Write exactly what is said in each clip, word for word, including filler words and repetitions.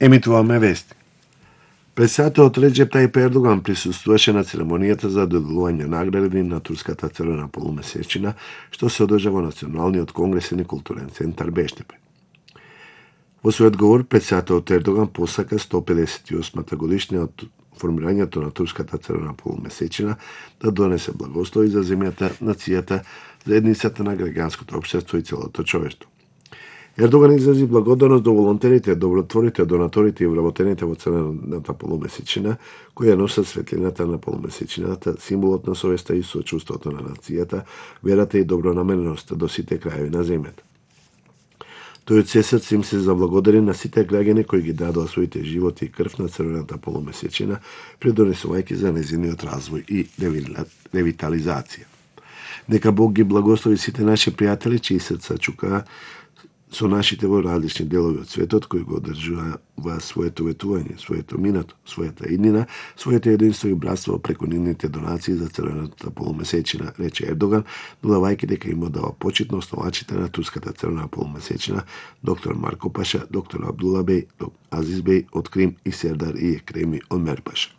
Емитуваме вести. Председателот Реџеп Тајип Ердоган присуствуваше на церемонијата за доделување награди на турската црвена полумесечина, што се одржа во Националниот конгресен и културен центар Бештепе. Во својот говор, председателот Ердоган посака сто педесет и осма годишнина од формирањето на турската црвена полумесечина да донесе благослови за земјата, нацијата, заедницата на граѓанското општество и целото човештво. Ердоган изрази благодарност до волонтерите, добротворите, донаторите и вработените во црвената полумесечина, кои ја носат светлината на полумесечината, символот на совеста и сочувството на нацијата, верата и добронамереноста до сите краеви на земјата. Тој од се срце им се заблагодари на сите граѓани кои ги дадоа своите животи и крв на црвената полумесечина, придонесувајќи за незиниот развој и ревитализација. Нека Бог ги благослови сите наши пријатели, чии срца чукаа со нашите во различни делови од светот, кои го одржуваат своето ветување, своето минато, својата иднина, своето единство и братство преку нивните донации за црвената полумесечина, рече Ердоган, додавајќи дека им одава почит на основачите на турската црвена полумесечина, доктор Марко Паша, доктор Абдула Беј, Азиз Беј од Крим и Сердар и Екреми од Мерпаша.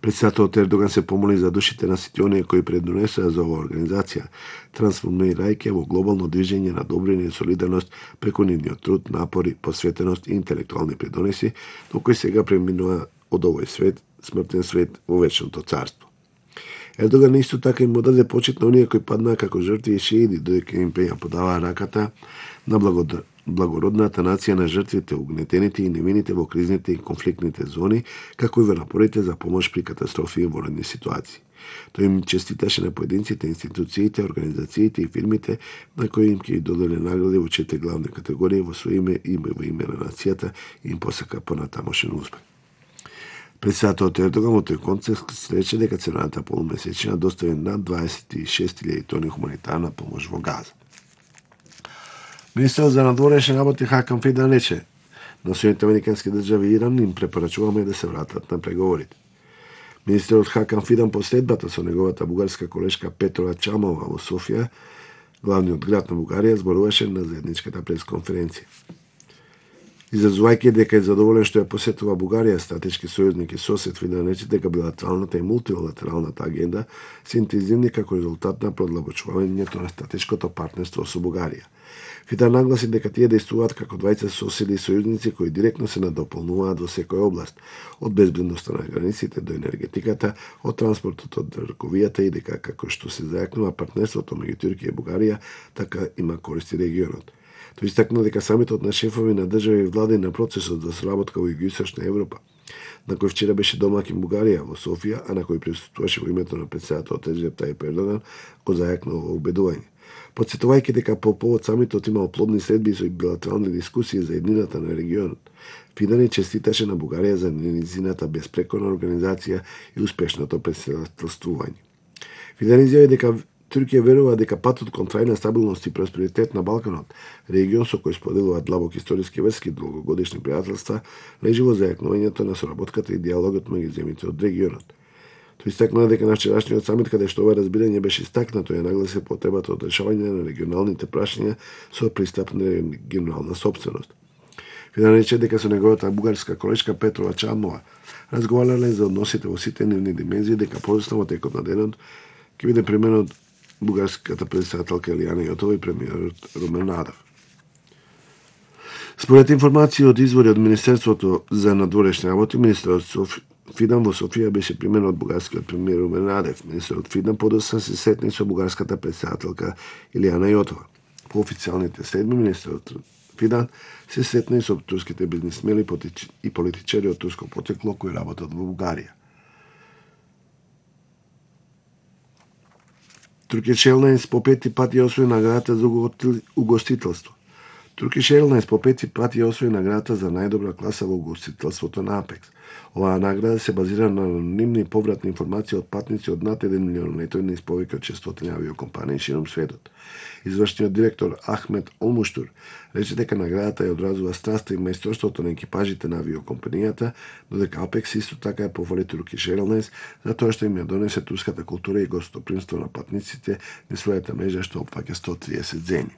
Председателот Ердоган се помоли за душите на сите оние кои предонесоа за оваа организација, трансформирајќи во глобално движење на добрина и солидарност преку нивниот труд, напори, посветеност и интелектуални придонеси, до кои сега преминува од овој свет, смртен свет во вечното царство. Ердоган исто така им одаде почит на оние кои паднаа како жртви и шеиди, додека им пеја подаваа раката на благодар благородната нација на жртвите, угнетените и невините во кризните и конфликтните зони, како и во напорите за помош при катастрофи и воредни ситуации. Тој им честиташе на поединците, институциите, организациите и фирмите на кои им ќе додели награди во четири главни категории во своје име и во име на нацијата и им посака понатамошен успех. Председателот Ердоган во тој контекст рече дека црвената полумесечина достави над дваесет и шест илјади тони хуманитарна помош во Газа. Министерот за надворешни работи Хакан Фидан рече на Соединетите американски држави и Иран им препорачуваме да се вратат на преговорите. Министерот Хакан Фидан по следбата со неговата бугарска колешка Петра Чамова во Софија, главниот град на Бугарија, зборуваше на заедничката пресконференција. Изразувајќи дека е задоволен што ја посетува Бугарија, стратешки сојузник и сосед, Фидан рече дека билатералната и мултилатералната агенда се интензивни како резултат на продлабочувањето на стратешкото партнерство со Бугарија. Фидан нагласи дека тие действуваат како двајца соседи и сојузници кои директно се надополнуваат во секоја област, од безбедноста на границите до енергетиката, од транспортот до трговијата и дека како што се зајакнува партнерството меѓу Турција и Бугарија, така има користи регионот. Тој истакна дека самитот на шефови на држави и влади на процесот за соработка во Југоисточна Европа, на кој вчера беше домаќин Бугарија во Софија, а на кој присуствуваше во името на председателот Реџеп Тајип Ердоган, го зајакна во убедување. Потсетувајќи дека по повод самитот имал плодни следби со билатерални дискусии за еднината на регионот, Фидан честиташе на Бугарија за незината безпрекорна организација и успешното претседателствување. Фидан изјави дека Турција верува дека патот кон трајна стабилност и просперитет на Балканот, регион со кој споделуваат длабоки историски врски и долгогодишни пријателства, лежи во зајакнувањето на соработката и диалогот меѓу земјите од регионот. Тој истакна дека на вчерашниот самит, каде што ова разбирање беше истакнато, ја нагласи потребата од решавање на регионалните прашања со пристап на регионална собственост. Фидан рече дека со неговата бугарска колешка Петра Чамова разговарале за односите во сите нивни димензии, дека подоцна во текот на денот ќе биде применот бугарската председателка Илијана Јотова и премиерот Румен Радев. Според информации од извори од Министерството за надворешни работи, министерот Соф... Фидан во Софија беше примен од бугарскиот премиер Румен Радев. Министерот Фидан подоцна се сретни со бугарската председателка Илијана Јотова. По официјалните следби, министерот Фидан се сретни со турските бизнисмени и политичари од турско потекло кои работат во Бугарија. Turkish Airlines по пети пат ја освои наградата за угостителство. Turkish Airlines по пети пат ја освои наградата за најдобра класа во угостителството на Апекс. Оваа награда се базира на анонимни повратни информации од патници од над еден милион летови низ повеќе од шестстотини авиокомпании широм светот. Извршниот директор Ахмет Олмуштур рече дека наградата ја одразува страста и мајсторството на екипажите на авиокомпанијата, додека Апекс исто така ја пофали Turkish Airlines за тоа што им ја донесе турската култура и гостопримство на патниците низ својата мрежа што опфаќа сто триесет земји.